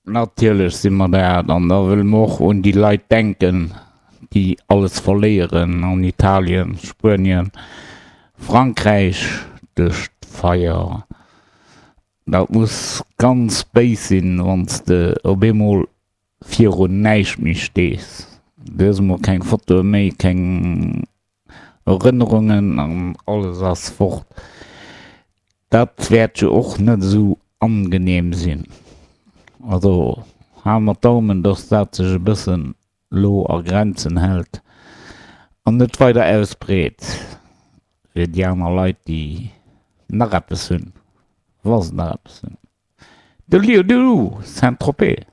Natierlech si mer dat. An da wëlle mer och un déi Leit denken, déi alles verléieren an Italien, Spuenien, Frankräich duerch d'Feier. Dat muss ganz béis sinn, wann s de op eemol virun näischt méi stees. Du hues emol keng Fotoe méi, keng Erënnerungen an alles ass fort. Dat wäert jo och net esou angenehm sinn. Also hale mer d'Daumen, dass dat sech e bëssen lo a Grenzen hält an net weider ausbreet fir déi aner Leit, déi nach eppes hunn, wa se nach eppes hunn. De Lieu de Saint-Tropez.